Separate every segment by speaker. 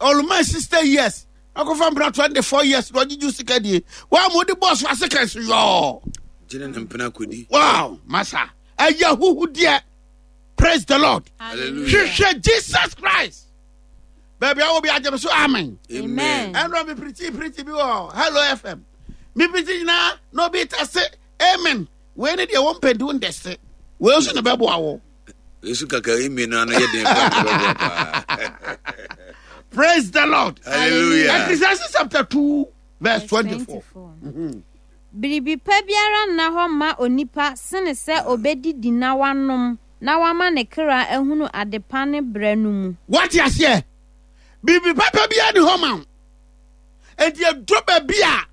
Speaker 1: Ɔluma 60 years. Akɔfa mpena 24 years na ɔgyegye sika die. Wa mo de bɔs ase kɛse yɔɔ.
Speaker 2: Gyina ne mpena kɔdi.
Speaker 1: Wow, masa. Ɛyɛ huhudeɛ. Praise the Lord.
Speaker 2: Hallelujah.
Speaker 1: Hwehwɛ Jesus Christ. Baabi a wɔ bi agye me so amen.
Speaker 2: Amen.
Speaker 1: Ɛnna mi pirikyi pirikyi bi wɔ Hello FM. Mi pirikyi nyinaa na obi ta se amen. Wei ne deɛ wɔn mpɛ nti wɔn dɛse. Wei nso na bɛboa wɔ.
Speaker 2: Yesu kaka amen no ano yɛ den paa bɛboa paa.
Speaker 1: Praise the Lord.
Speaker 2: Hallelujah.
Speaker 1: Ecclesiastes chapter 2 verse 24.
Speaker 3: Biribi pa biara nna hɔ mma onipa sene sɛ ɔbɛdidi na wanom na wama ne kra ahunu adepa ne berɛ no mu.
Speaker 1: Wate aseɛ? Biribi papa biara ni hɔ ma wo. Enti ɛdɔ baabi a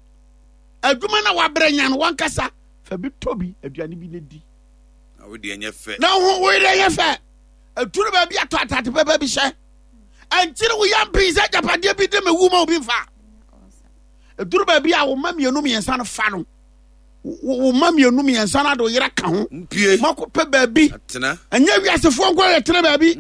Speaker 1: adwuma no a wabrɛ nya no wankasa fa bi tɔ bi aduane bi na di.
Speaker 2: Na wo deɛ nyɛ fɛ.
Speaker 1: Na wo wo deɛ nyɛ fɛ. Ɛduru baabi a tɔ atade papa bi hyɛ. Ɛnkyere wo yam pii sɛ agyapadeɛ bi de me wu ma obi mfa. Ɛduru baabi a wo mma mmienu mmiɛnsa no fa no. Wo mma mmienu mmiɛnsa no ade wo yere ka ho.
Speaker 2: Mpue.
Speaker 1: Moakɔpɛ baabi.
Speaker 2: Atena.
Speaker 1: Ɛnyɛ wiasefoɔ nko yɛ tena baabi.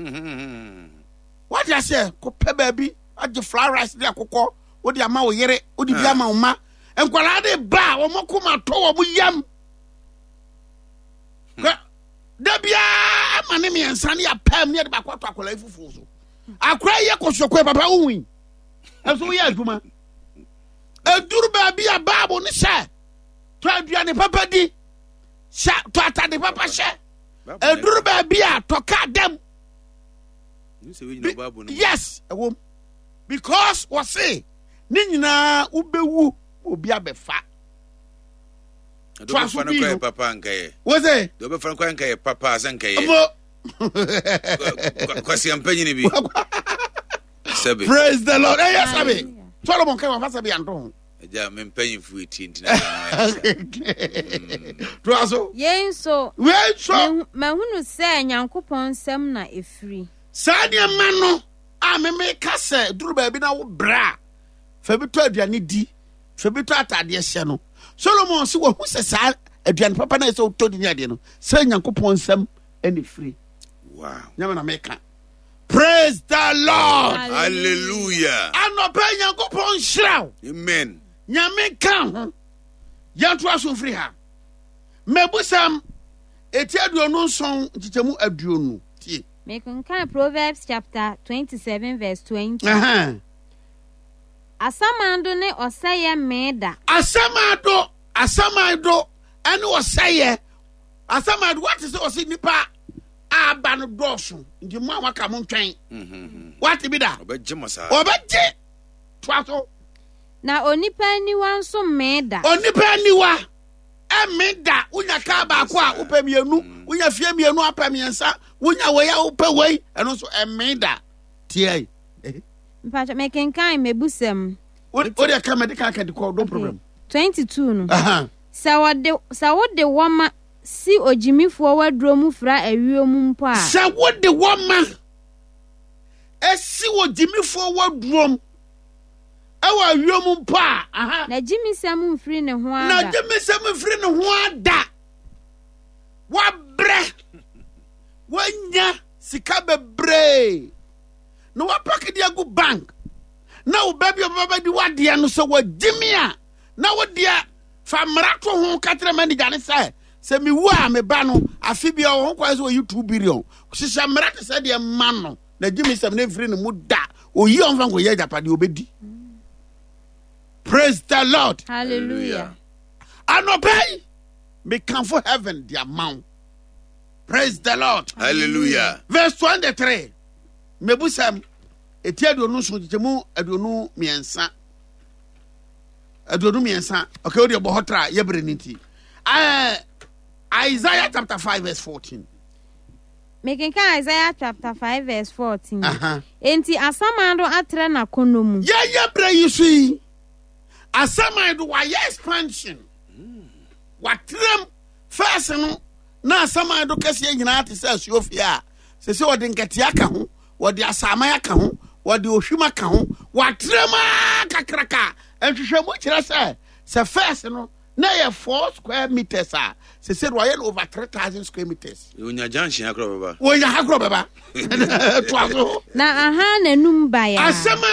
Speaker 1: Wate aseɛ kɔpɛ baabi agye fried rice de akokɔ wode ama wo yere wode bi ama wo mma. Nkwadaa de ba a wɔn koma tɔ wɔn yam. Da biara ama ne mmiɛnsa ne yɛapam ne yɛde baako ato akwadaa yi fufuo so. Akwadaa yi yɛ kɔsɔkɔɛ papa wohui. Ɛnso woyɛ adwuma. Ɛduru baabi a Bible ne sɛ tɔ aduane papa di, hyɛ tɔ atade papa hyɛ. Ɛduru baabi a tɔ kaa dam. Yes, ɛwom. Because wɔse ne nyinaa wobɛwu obi abɛfa.
Speaker 2: Toa so bi no. Papa nkɛyɛ.
Speaker 1: Wose.
Speaker 2: Deɛ ɔbɛfa no kɔ nkɛyɛ papa sɛ nkɛyɛ.
Speaker 1: Mo.
Speaker 2: Kwasi ampanyini bi. Sɛbi.
Speaker 1: Praise the Lord. Ɛyɛ sɛbi. Solomon kɛ wafa sɛbi anto ho.
Speaker 2: Ɛgya me mpanyinfo etie ntina.
Speaker 1: Toa so.
Speaker 3: Yei nso.
Speaker 1: Wei nso.
Speaker 3: Mahunu sɛ Nyankopɔn nsam na efiri.
Speaker 1: Saa nneɛma no a meme ka sɛ duru baabi na wo brɛ a fa bi tɔ aduane di fa bi tɔ ataadeɛ hyɛ no Solomon sɛ wahu sɛ saa aduane papa no sɛ wotɔ di ne adeɛ no sɛ Nyankopɔn nsam ɛna firi.
Speaker 2: Wow.
Speaker 1: Nyame na meka. Praise the Lord.
Speaker 2: Hallelujah.
Speaker 1: Anɔpa Nyankopɔn nhyira wo.
Speaker 2: Amen.
Speaker 1: Nyame ka ho. Yɛntoa so mfiri ha. Mabusɛm eti 27 nkyekyɛmu 20. Tie.
Speaker 3: Mekenkan Proverbs chapter 27 verse 20.
Speaker 1: Uh -huh.
Speaker 3: Asamando ne ɔsɛeɛ mmee da.
Speaker 1: Asamando, asamando ɛne ɔsɛeɛ. Asamando wate sɛ ɔse nipa a aba no dɔɔso nti mo a waka mo ntwɛn. Mm-hmm. Wate bi da?
Speaker 2: Ɔbɛgye mo saa.
Speaker 1: Ɔbɛgye toa so.
Speaker 3: Na onipa aniwa nso mmee da.
Speaker 1: Onipa aniwa ɛmme da. Wonya kaa baako a wopɛ mmienu, mm. wonya fie mmienu apɛ mmiɛnsa, wonya wei a wopɛ wei, ɛno nso ɛmme da. Tiɛ.
Speaker 3: Mpakyɛ mekenkan mebusɛm.
Speaker 1: O de ka mɛde ka ka di kɔ no problem.
Speaker 3: 22 no. Sɛ wɔde sɛ wode wɔma si ogyimifoɔ waduro mu fra ayuo mu mpo a.
Speaker 1: Sɛ wode wɔma esi ogyimifoɔ waduro mu ɛwɔ ayuo mu mpo a. Aha.
Speaker 3: Na gyimisɛm mfiri ne ho ada.
Speaker 1: Na gyimisɛm mfiri ne ho ada. Wabrɛ. Wanya sika bebree. Na wapaki de agu bank. Na wo ba bi a ɔbɛba bɛdi w'adeɛ no sɛ wagye me a na wo deɛ fa mmara to ho ka kyerɛ manager ne sɛ sɛ mewu a me ba no afe bi ɔwɔ ho kwan sɛ ɔyi 2 billion hyehyɛ mmara te sɛ deɛ ma no na gye me sɛm ne mfiri ne mu da oyi ɔmfa nkɔyɛ agyapadeɛ ɔbɛdi. Praise the Lord.
Speaker 3: Hallelujah.
Speaker 1: Anɔpa yi mekamfo heaven de ama wo. Praise the Lord.
Speaker 2: Hallelujah.
Speaker 1: Verse 23. Mebusɛm eti 27 kyekyɛmu 23. 23. Okay, wode bɔ hɔ tra yɛbrɛ no nti. Isaiah chapter 5 verse 14.
Speaker 3: Mekenkan Isaiah chapter 5 verse 14. Enti asamando atrɛ n'akɔnnɔ mu.
Speaker 1: Yɛyɛ berɛ yi so yi, asamando wayɛ expansion. Watrɛm fɛs no na asamando kɛseɛ nyinaa te sɛ asuofie a sɛ sɛ wɔde nkɛteɛ aka ho, wɔde asaman aka ho, wɔde ohwim aka ho, watrɛm aa kakraka. Nhwehwɛmu kyerɛ sɛ sɛ fɛs no na ɛyɛ 4 square meters a, sɛ sɛ wɔayɛ no over 3000 square meters.
Speaker 2: Wonya junction ha korɔ bɛba.
Speaker 1: Wonya ha korɔ bɛba. Toa so.
Speaker 3: Na aha n'anum baeɛ a.
Speaker 1: Asɛm